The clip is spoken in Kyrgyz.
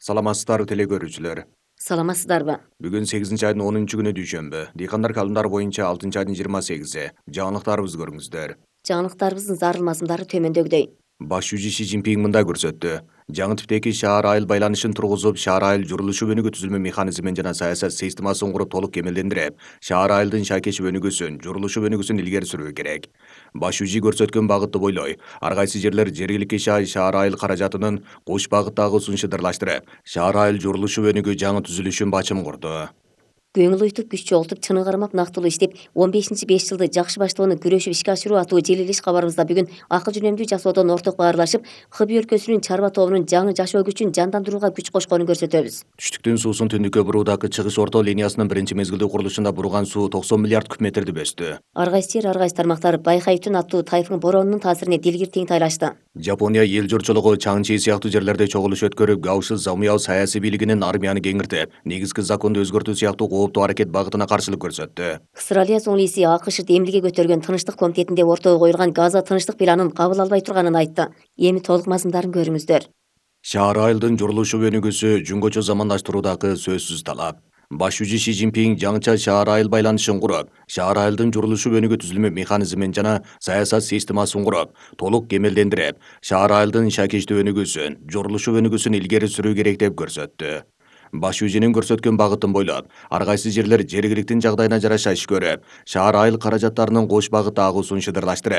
Саламатсыздарбы теле көрүүчүлөр. Саламатсыздарбы? Бүгүн 8-айдын 10-күнү дүйшөмбү. Дыйкандар календарь боюнча 6-айдын 28-и. Жаңылыктарыбызды көрүңүздөр. Жаңылыктарыбыздын зарыл мазмундары төмөндөгүдөй. Баш жүзү Си Цзиньпин мындай көрсөттү. Жаңы типтеги шаар айыл байланышын тургузуп, шаар айыл журулушу өнүгүү түзүлмө механизмин жана саясат системасын куруп толук кемелдендирип, шаар айылдын шайкешип өнүгүүсүн, журулушу өнүгүүсүн илгери сүрүү керек. Баш жүзү көрсөткөн багытты бойлой, ар кайсы жерлер жергиликтүү шаар айыл каражатынын кош багыттагы ысун шыдырлаштырып, шаар айыл журулушу өнүгүү жаңы түзүлүшүн бачым курду. Көңүл уйтуп, күч чогултуп, чыны кармап нактылуу иштеп, 15-5 жылды жакшы баштоону күрөшүп ишке ашыруу аттуу желилиш кабарыбызда бүгүн акыл жөнөмдүү жасоодон орток баарлашып, Хыби өлкөсүнүн чарба тобунун жаңы жашоо күчүн жандандырууга күч кошконун көрсөтөбүз. Түштүктүн суусун түндүккө буруудагы чыгыш орто линиясынын биринчи мезгилдүү курулушунда бурган суу 90 миллиард куб метрди бөстү. Ар кайсы жер, ар кайсы тармактар Байхайтүн аттуу тайфун боронунун таасиринде дилгир тең тайлашты. Жапония эл журтчулугу Чаңчи сыяктуу жерлерде чогулуш өткөрүп, Гауши Замуяо саясий бийлигинин армияны кеңиртип, негизги законду өзгөртүү сыяктуу кооптуу аракет багытына каршылык көрсөттү. Австралия соңлиси АКШ эмлиге көтөргөн тынчтык комитетинде ортого коюлган Газа тынчтык планын кабыл албай турганын айтты. Эми толук мазмундарын көрүңүздөр. Шаар айылдын журулушу өнүгүүсү жөнгөчө замандаштыруудагы сөзсүз талап. Баш жүзү Си Цзиньпин жаңыча шаар айыл байланышын куруп, шаар айылдын журулушу өнүгүү түзүлмө механизмин жана саясат системасын куруп, толук кемелдендирип, шаар айылдын шайкечтүү өнүгүүсүн, журулушу өнүгүүсүн илгери сүрүү керек деп көрсөттү. Баш жүзүнүн көрсөткөн багытын бойлоп, ар кайсы жерлер жергиликтин жагдайына жараша иш көрүп, шаар айыл каражаттарынын кош багытта агуусун шыдырлаштырып,